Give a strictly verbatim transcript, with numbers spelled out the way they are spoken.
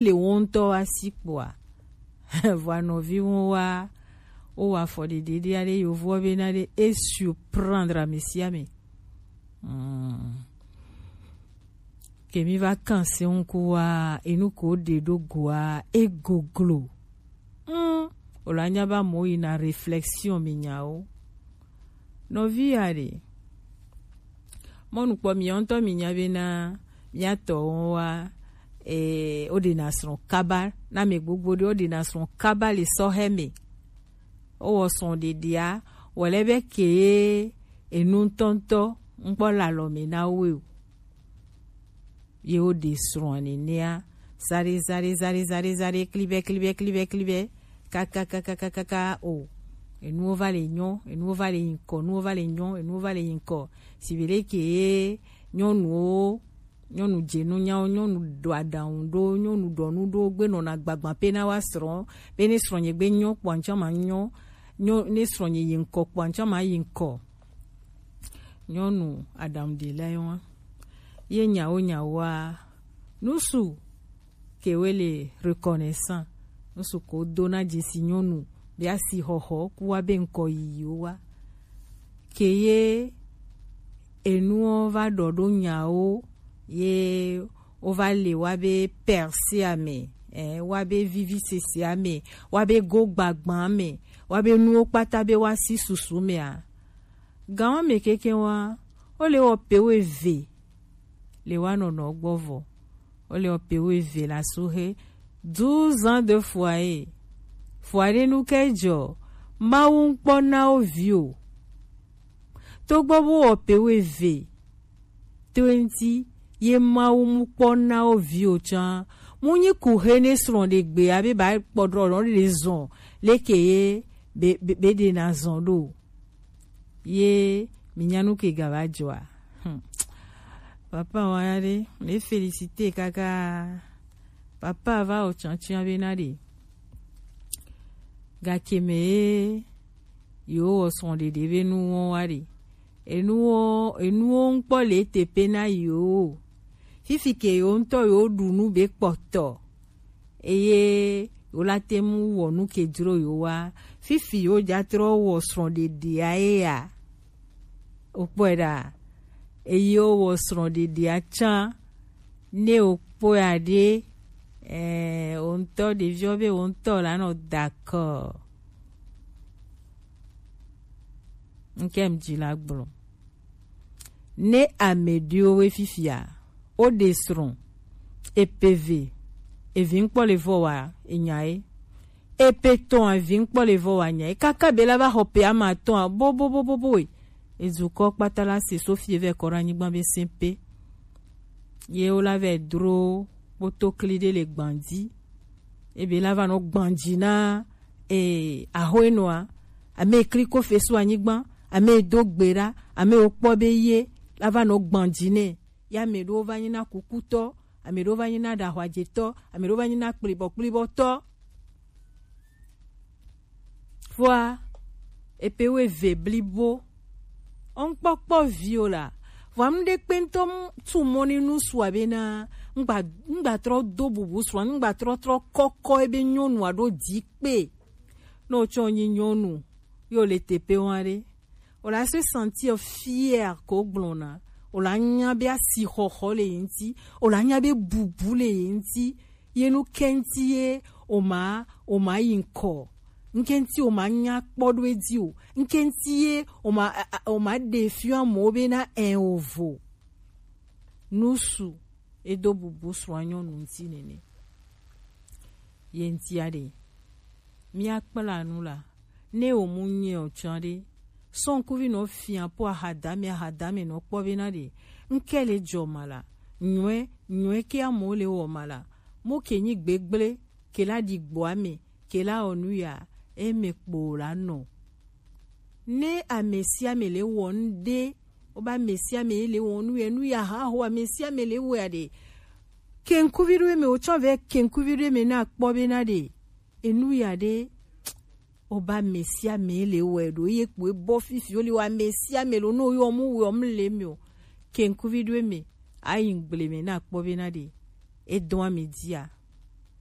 le wo ŋutɔ wa si kpoa, vɔa nɔvi wo wa, wo wa afɔ ɖeɖe ɖe ale yovo be na ɖe e surprendre ame sia ame. Hmm. Ke mi va kan se ŋku wa, enu ko ɖe ɖo goa, e goglo. Hmm. O la nya ba mo yi na réflexion mi nya o. Nɔvi ya ɖe. Mɔnu kpɔ mi ŋutɔ mi nya be na mia tɔ wo wa, e, o ɖe na srɔ̃ kaba, na me gbogbo ɖe o ɖe na srɔ̃ kaba le sɔhɛ me. O wɔ srɔ̃ ɖeɖea, wɔ lɛ be ke ye enu ŋutɔŋutɔ ŋkpɔ le alɔ me na wo o. Ye wo ɖe srɔ̃a nenea, zare, zare, zare, zare, zare, klibɛ, klibɛ, klibɛ, klibɛ, kaka, kaka, kaka, kaka, o. Enuwo va le nyɔ, enuwo va le yinkɔ, enuwo va le nyɔ, enuwo va le yinkɔ. Si be ɖe ke ye nyɔnuwo, nyɔnu dze nu nyawo, nyɔnu ɖo aɖaŋu ɖo, nyɔnu ɖɔ nu ɖo, gbe nɔna gbagba pe na wa srɔ̃, be ne srɔ̃nye gbe nyɔ kpɔ ŋtsɔ ma nyɔ, nyɔ, ne srɔ̃nye yi ŋkɔ kpɔ ŋtsɔ ma yi ŋkɔ. Nyɔnu aɖaŋuɖela ye wa. Ye nyawo nyawoa, nusu ke we le reconnaissant, nusu ko do na dzesi nyɔnu be asi xɔxɔ ku wa be ŋkɔ yiyiwo wa. Ke ye enuwo va ɖɔ ɖo nyawo ye wo va le wa be perse ame, eh, wa be vivi sese ame, wa be go gbagba ame, wa be nuwo kpata be wa si susu mea. Gan wa me keke wa, o le wɔ pe wo eve le wa nɔnɔ gbɔ vɔ. O le wɔ pe wo eve la suhe. Douze ans de foyer. Foyer nu ke jɔ. Mawu ŋkpɔ na wo vi o. Togbɔ bo wɔ pe wo eve. Twenty ye Mawu mu kpɔ na wo vi o tsan. Mu nyi ku he ne srɔ̃ ɖe gbe abe ba kpɔ ɖɔ nɔ ɖe zɔn leke ye be, be, be ɖe na zɔn ɖo. Ye mi nya nu ke ga va dzɔa. Hmm. Papa wa ya ɖe, me félicité kaka. Papa va o tsan tsan be na ɖe. Gake me ye yo wɔ srɔ̃ ɖeɖe be nu wɔn wa ɖe. Enuwo, enuwo ŋkpɔ le teƒe na yewo. Fifi ke yewo ŋutɔ yewo ɖu nu be kpɔtɔ. Eye yewo la te ŋu wɔ nu ke dzro yewo wa. Fifi yewo dza trɔ wɔ srɔ̃ɖeɖea ye ya. Wokpɔe ɖa. Eye wowɔ srɔ̃ɖeɖea tsã. Ne wokpɔe aɖe, eh, wo ŋutɔ ɖeviwo be wo ŋutɔ la nɔ d'accord. Nke m dzi la gblɔ. Ne ame ɖewo we fifia, wo ɖe srɔ̃, epe ve, evi ŋkpɔ le vɔ wa enya ye. Epe tɔn evi ŋkpɔ le vɔ wa nya ye. Kaka be la va xɔ pe ama tɔn a bo, bo, bo, bo, bo, e. Edukɔ kpata la se so fie vɛ kɔ ɖe anyigba be se pe. Ye wo la vɛ dro kpoto kli ɖe le gbanji. Ebe la va nɔ gbanji na, eh, ahoenɔa, ame kliko fesu anyigba, ame do gbe ɖa, ame wo kpɔ be ye la va nɔ gbanji nɛ. Ya ame ɖewo va nyi na kukutɔ, ame ɖewo va nyi na ɖahwajetɔ, ame ɖewo va nyi na kplibɔkplibɔtɔ. Vɔa, epe wo eve blibo. Ŋkpɔkpɔ vi o la. Vɔa, ŋɖe kpe ŋutɔ tu mɔ ni nu sua be na, ŋgba, ŋgba trɔ do bubu srɔ̃, ŋgba trɔ trɔ kɔkɔ ebe nyɔnua ɖo di kpe. Ne wotsɔ nyi nyɔnu, yo le tepe wa ɖe. O la se sentir fier ko gblɔna. O la nya be asixɔxɔ le ye ŋuti. O la nya be bubu le ye ŋuti. Ye nu ke ŋuti ye o ma, o ma yi ŋkɔ. Ŋke ŋuti o ma nya kpɔ ɖo edzi o. Ŋke ŋuti ye o ma, a, a, o ma ɖe fiɔ amewo be na ɛ o vo. Nusu edo bubu srɔ̃a nyɔnu ŋuti nene. Ye ŋutia ɖe. Mía kpla nu la. Ne o mu nyɛ o tsã ɖe. Sɔn kuvi nɔ fia po ahadame, ahadame nɔ kpɔ be na ɖe. Ŋke le jɔ ma la. Nyɔe, nyɔe ke amewo le wɔ ma la. Mo ke nyi gbegble, ke la ɖi gbɔ ame, ke la wɔ nu ya, e me kpo la nɔ. Ne ame sia ame le wɔ nu ɖe, o ba ame sia ame le wɔ nu ya, nu ya ha ho ame sia ame le wɔ ya ɖe. Kenkuvi ɖo me o tsã vɛ kenkuvi ɖo me na kpɔ be na ɖe. Enu ya ɖe, o ba ame sia ame le wɔ ɖo ye kpo e bɔ fifi o le wɔ ame sia ame lo no yɔ mu wɔ mu le me o. Kenkuvi ɖo me, ayi gble me na kpɔ be na ɖe. E dɔn ame dia.